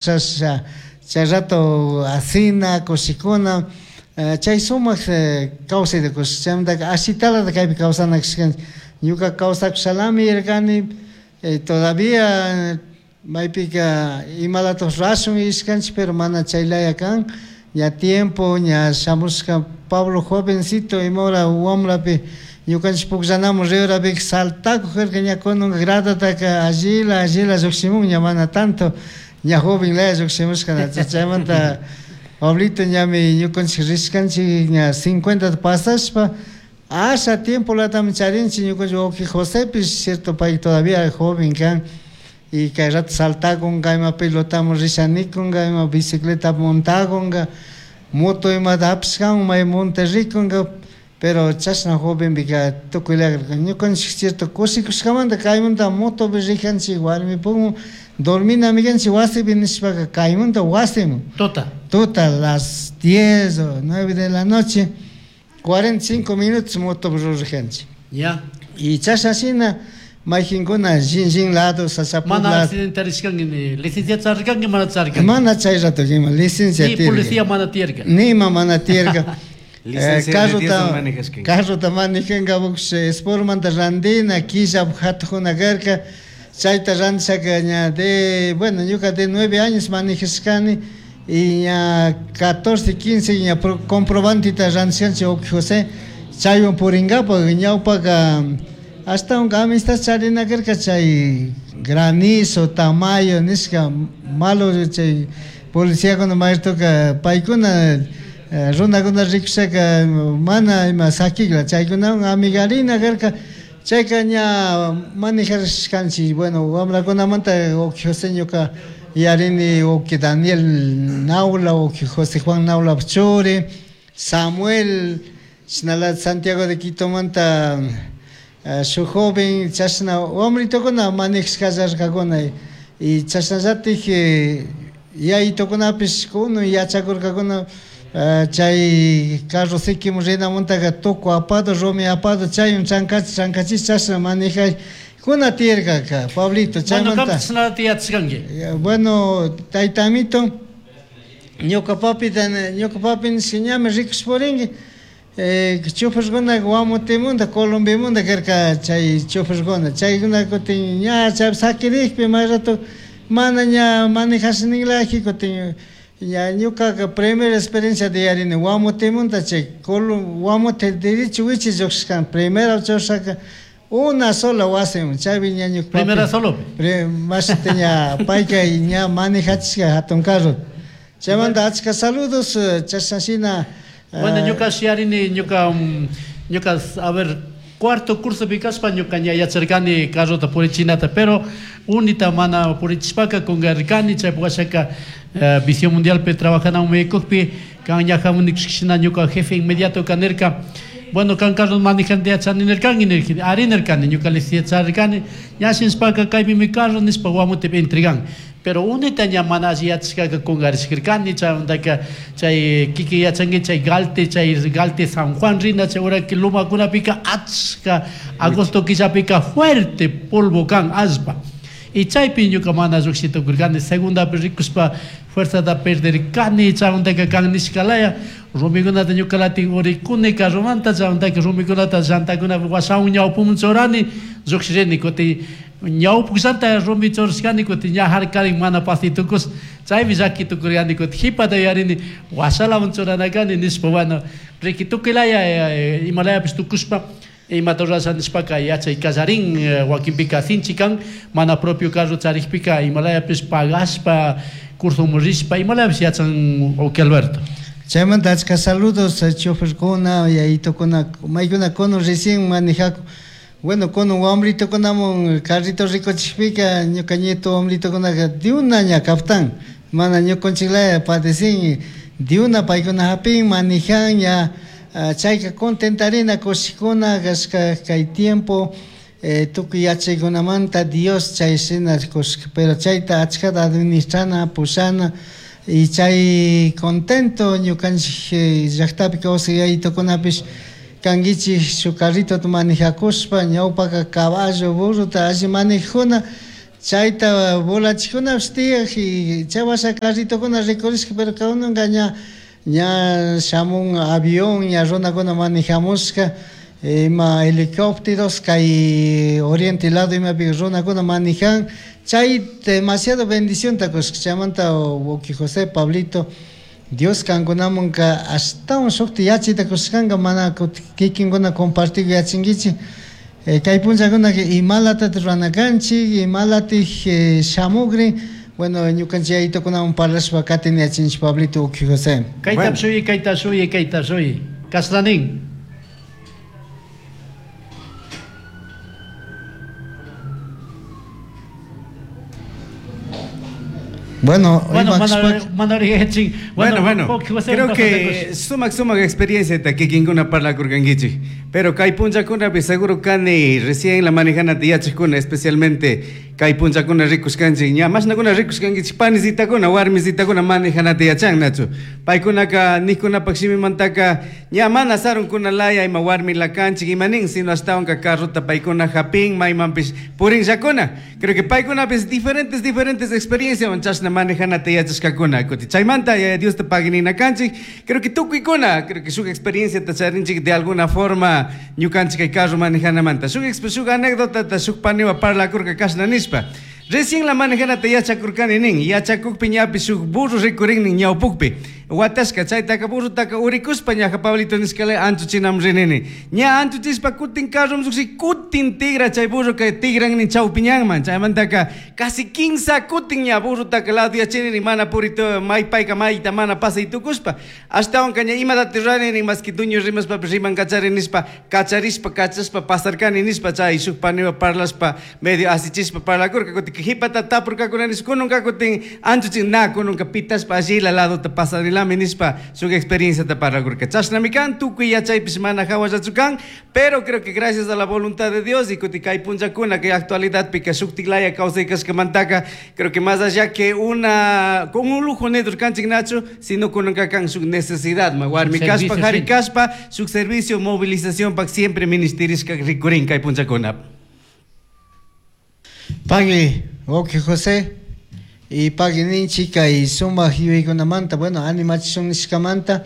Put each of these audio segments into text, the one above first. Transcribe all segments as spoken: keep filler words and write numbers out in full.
Chasha chay rato asina kushikuna, chay sumak kawsayta kush chaymantaka ashitalata kaypi kawsana kashkanchik. Ñuka kawsakushalami yarkani, todavía maypika imalatak rurashun yuyashkanchik, pero mana chaylaya kan. Ña tiempo ña shamushka Pablo jovencito ima hora wambrapi ñukanchik pukllanamun riurapika saltakuk karka, ña kunanka gradataka allila allila llukshimun, ña mana tanto ña joven laya llukshimushka. Chaymanta Pablito ñami ñukanchik rishkanchik ña cincuenta pasashpa asha tiempolatami charinchik ñukanchik wawki Josepish, cierto, pay todavía joven kan y kay rato saltakunka, ima pelotamun rishanikunka, ima bicicleta montakunka, moto imata hapishkamun may monte rikunka, pero chashna jovenpika tukuy laya ñukanchik cierto kushikushkamanta kaymanta motopi rijanchik warmipumun dorminami kanchik wasipi nishpaka kaymanta wasimun. Tuta. Tuta, las diez o nueve de la noche, cuarenta y cinco minutos motopi rurajanchik. Ya. Y chashna shina mayqinkuna shin lado sachapu Mana lado. accidentarishkanki ni licencia charirkanki mana charirkanki. Mana chay rato ima licencia Ni tiyarka. policía mana tiyarka. Nima mana tiyarka. Licencia Carrota manejashkanki. Carrota manejanka Sportmanta randina killa hatuquna karka. Chayta randishaka ña de, bueno, ñuka de nueve años manejashkani y ña catorce, quince ña comprobantita randishkanchik wawqi José chaywan purinkapak ñawpaka hasta un amistad charina karka chay granizo, tamayo nishka malo chay policíakuna mayrtuka paykuna runakuna rikushaka mana ima sakikla chaykunawan amigarina karka chayka ña manejarishkanchik. Bueno, wamrakunamanta wawqi José ñuka yarini wawqi Daniel Naula, wawqi José Juan Naula churi, Samuel shinalata Santiago de Quitomanta shuk joven chashna wamritukuna manejashkallarkakuna y chashnallatik yayitukunapish kunun yachakurkakuna chay carro sikimun rinamuntaka tuku apado rumi apado chaywan chankachi chankachish chashna manejay kuna tiyarkaka Pablito Bueno, chaymanta. kanpish chashnata yachashkanki. Bueno, tayta amito, ñuka papita, ñuka papi nishka ñami rikush purinki choferkuna Guamotemunda, Colombiamunda karka chay choferkuna chaykuna kutin ña chay sakirikpi may rato mana ña manejash ninlaji kutin ña ñukaka primera experiencia de yarini Guamotemunda chay Guamote derecho wichi lluqshishkani primera churashaka una sola wasiman chaypi ña ñuka papi Primera solo. mashita ña payka ña manejachishka hatun carro. Chaymanta achka saludos chashna shina. Bueno, ñuka yarini ñuka ñuka a ver cuarto curso pikashpa ñuka ña yacharkani carrota purichinata, pero unita mana purichishpaka kungarkani chaypi washaka Visión Mundialpi trabajanamun maykuqpi kan ña hamunikushkashina ñuka jefe inmediato kanirka, bueno, kan carro manejante yachani nirkanki nirkani, ari nirkani ñuka licencia charirkani ña shinashpaka kaypimi carro nishpa Guamotepi entregan. Pero unita ña mana alli yachashkaka kungarishkarkani chaymantaka chay kiki yachanki chay Galte, chay Galte San Juan rina chay uraki lumakunapika achka agosto killapika fuerte polvo kan allpa. Y chaypi ñuka mana lluqshi tukurkani segundapi rikushpa fuerzata perderkani chaymantaka kan nishkalaya rumikunata ñukalatin urikuni carromanta chaymantaka rumikunata llantakunapi washawan ñawpuman churani lluqshirini kutin ñawpukllanta rumi churashkani kutin ña harkarin mana pasitukus chaymi llaki tukurkani kutin qhipata yuyarini washalaman churanakani nishpa. Bueno, riki tukuylaya imalayapish tukushpa imata rurasha nishpaka yachay kallarin wakinpika sinchi kan mana propio carro charikpika imalayapish pagashpa cursomun rishpa imalayapish yachan wawqi Alberto. Chaymanta achka saludos choferkuna yayitukuna maykuna kunan recién manejakun. Bueno, kunan wambritukunamun carrito rikuchikpika ñuka nieto wambritukunaka diuna ña kaptan mana ñukanchiklaya padecen diuna paykuna hapin manejan ña chayka contentarina kushikuna kashka kay tiempo tukuy yachaykunamanta Dios chay shina kushka, pero chayta achkata administrana pushana y chay contento ñukanchik llaktapi kawsay yayitukunapish kankichik shuk carritota manejakushpa ñawpaka caballo burrota alli manejajuna Chayta volachikunapish tiyaj y chay washa carritokuna rikurishka, pero kunanka ña ña shamun avión, ña runakuna manejamushka, ima helicópteros kay oriente lado imapi runakuna manejan. Chay demasiado bendición ta kushka. Chaymanta wawki José, Pablito, Dios kankunamanka ashtawan shukta yachayta kushkanka, mana kikinkuna compartir yachinkichik. Kay punllakunaka imalatata rurana kanchik, imalatik shamukrin. Bueno, ñukanchik yayitukunawan parlashpa katin yachinchik, Pablito, wawki José. Kayta shuyi, kayta shuyi, kayta shuyi. Kasnanin. Bueno, Bueno, mana, mana Bueno, bueno, creo que sumak sumak experiencia ta kikinkuna parlakurkankichik. Pero kay punllakunapi seguro kani recién la manejanata yachakuna, especialmente kay punllakuna rikushkanchik, ña mashnakuna rikushkankichik panisitakuna, warmisitakuna manejanata yachan, nachu. Paykunaka nijkunapak shimimantaka ña mana sarunkuna laya ima warmi lakanchik ima nin, sino ashtawanka carrota paykuna hapin maymanpish purinllakuna. Creo que paykunapis diferentes diferentes experiencias chashna manejanata yachashkakuna. Kuti chaymanta ya Dios te pague kanchik. Creo que tukuykuna, creo que shuk experiencia ta charinchik de alguna forma ñukanchik kay carro manejanamanta. Shuk shuk anécdota ta shuk paniwa parlakurka kashna nishpa. Recién la manejanata yachakurkani nin, yachakukpi ñapi shuk burro rikurin nin ñawpukpi. Watashka chaytaka burrotaka urikuspa ñaja Pablito nishkale anchuchinam rinini. Ña anchuchispa kutin carrom lluqshi kutin tigra chay burro kay tigran nin chawpiñanman. Chaymantaka casi quince kutin ña burrotaka lado yachinini mana purito maypayka mayta mana pasay tukuspa. Ashtawanka ña imatati ruranini maski dueño rimaspapish riman kachari nishpa kacharishpa kachashpa pasarkani nishpa chay shuk paniwa parlashpa medio asichispa parlakurka kutin hipata tapurkakuna nishpa kununka kutin anchuchin na kununka pitashpa allila ladota pasarilami nishpa shuk experiencia ta parlakurka. Chashnami kan tukuy yachaypish mana hawallachu kan, pero creo que gracias a la voluntad de Dios y kuti kay punllakuna kay actualidadpika shuktik laya kawsay kashkamantaka, creo que más allá que una con un lujo neto kanchik nachu, sino kununka kan shuk necesidad ma warmi Servicio, kashpa jari sí. kashpa shuk servicio movilización pak siempre ministerishka rikurin kay punllakuna. Pagui, wawki José, y pagui ninchik kay sumak yuyaykunamanta, bueno, animachishun nishkamanta,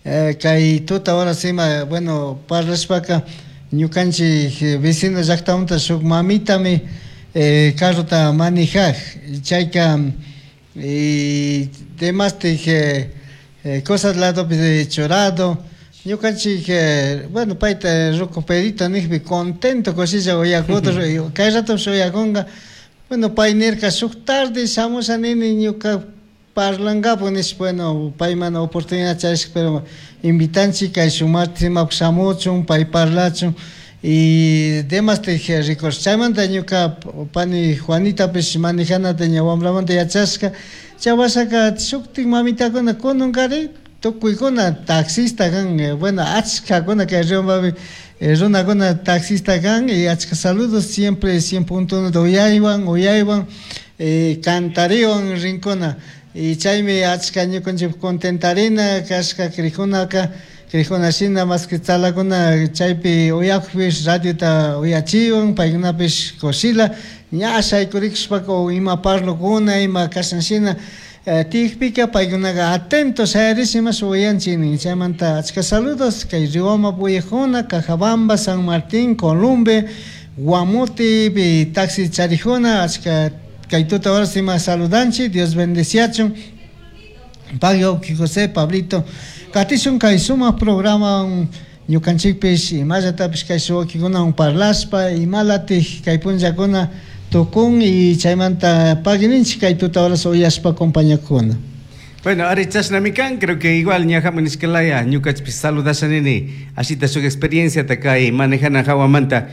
eh, kay tuta ahora sima, bueno, parlashpaka ñukanchik vecino llaktamanta shuk mamitami eh, carrota manejaj, chayka y demastik eh, eh, cosas ladopi churado. Ñukanchik, eh, bueno, payta ruku Pedrito nijpi contento kushilla uyakuta, kay ratopish uyakunka. Bueno, pay nirka shuk tarde shamusha nini ñuka parlangapu nishpa, bueno, pay mana oportunidad charishka, pero invitanchik kay shuk martes imapak shamuchun, pay parlachun y demastik rikursh. Chaymanta ñuka pani Juanitapish manejanata ña wambramanta yachashka. Chay washaka shuktik mamitakuna kununkari tukuykuna taxista kan, bueno, achkakuna kay Riobambapi runakuna taxista kan y achka saludos siempre cien punto uno de uyaywan, uyaywan, eh, cantariwan rinkuna. Y chaymi achka ñukanchik contentarina kashka krijunaka, krijuna shina más que tzalakuna chaypi uyakpish radiota uyachiwan, paykunapish kushila, ña shaykurikushpaka o ima parlukuna, ima kashan shina, eh, tiyakpika paykunaka atento shayarish imash uyanchik nin. Chaymanta achka saludos kay Riobamba uyakuna, Cajabamba, San Martín, Columbe, Guamuti, taxi charijuna, achka kay tuta horas ima saludanchik, Dios bendeciachun. Pagui wawki José, Pablito, katishun kay sumak programa ñukanchikpish imallatapish kay wawkikunawan parlashpa imalatik kay punllakuna tukun y chaymanta pagui ninchik kay tuta horas uyashpa compañakuna. Bueno, ari chashnami kan, creo que igual ñajamu nishkalaya ñukachpish saludasha nini, ashita shuk experiencia ta kay manejana hawamanta.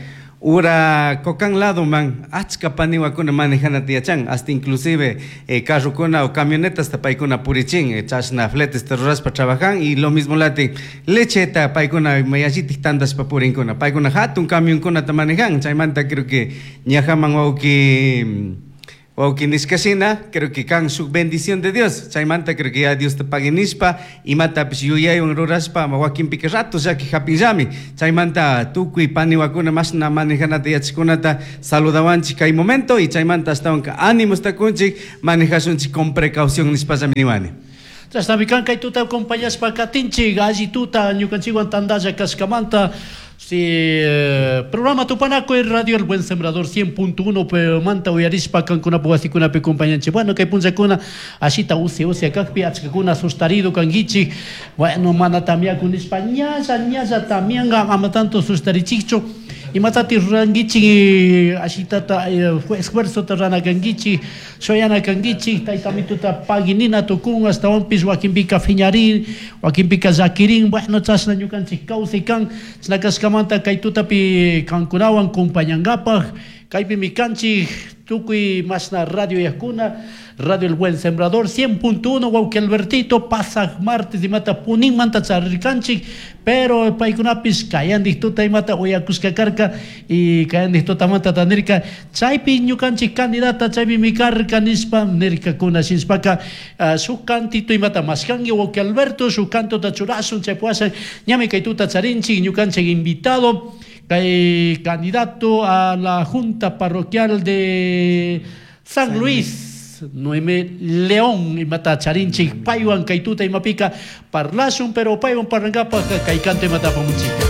Ura kokan lado man, achka paniwakuna manejana tiyachan, hasta inclusive eh, carrokuna o camionetas ta paykuna purichin, eh, chashna fletes ta rurashpa trabajan y lo mismo lati lecheta paykuna mayallitik tandashpa purinkuna, paykuna hatun camionkuna ta manejan, chaymanta creo que ñajaman wawki Wawqi nishkashina, creo que kan shuk bendición de Dios. Chaymanta creo que ya Dios te pagui nishpa, imatapish yuyaywan rurashpa, wakinpika rato llaki hapinllami. Chaymanta tukuy paniwakuna mashna manejanata yachajkunata saludawanchik kay momento y chaymanta ashtawanka ánimos takunchik manejashunchik con precaución nishpallami niwani. Chashnami kan kay tuta acompañashpa katinchik alli tuta ñukanchikwan tandalla kashkamanta. Si eh, programa Tupanakuy Radio El Buen Sembrador cien punto uno manta uyarishpa kankunapak wasikunapi compañanchik. Bueno, kay punllakuna ashita usia usia kakpi achkakuna sustarido kankichik. Bueno, mana tamiaku nishpa ñalla ñalla tamianga ama tanto sustarichikchu. Imatati rurankichik ashitata, eh, esfuerzota rana kankichik, shoyana kankichik, taytamituta paginina tukun, astawanpis wakinpika fiñarin, wakinpika llakirin, bueno, chashna ñukanchik kawsay kan, chashna kashkamanta kay tutapi kankunawan compañangapaj, kaypimi kanchik tukuy mashna radio yakuna, Radio El Buen Sembrador cien punto uno, wawqi Albertito, pasaj martes imata puninmanta charirkanchik, pero paykunapis kayandik tuta imata uyakushka karka y kayandik tutamanta tanirka, chaypi ñukanchik candidata chaypimi karka nishpa nirkakuna shinshpaka, ah, shuk cantito imata mashkanki wawqi Alberto, shuk cantota churashun chay puasha, ñami kay tuta charinchik ñukanchik invitado, kay candidato a la Junta Parroquial de San Luis, Noemí León, imata charinchik, paywan kay tuta imapika parlashun, pero paywan parlangapaj kay canto imata apamuchika.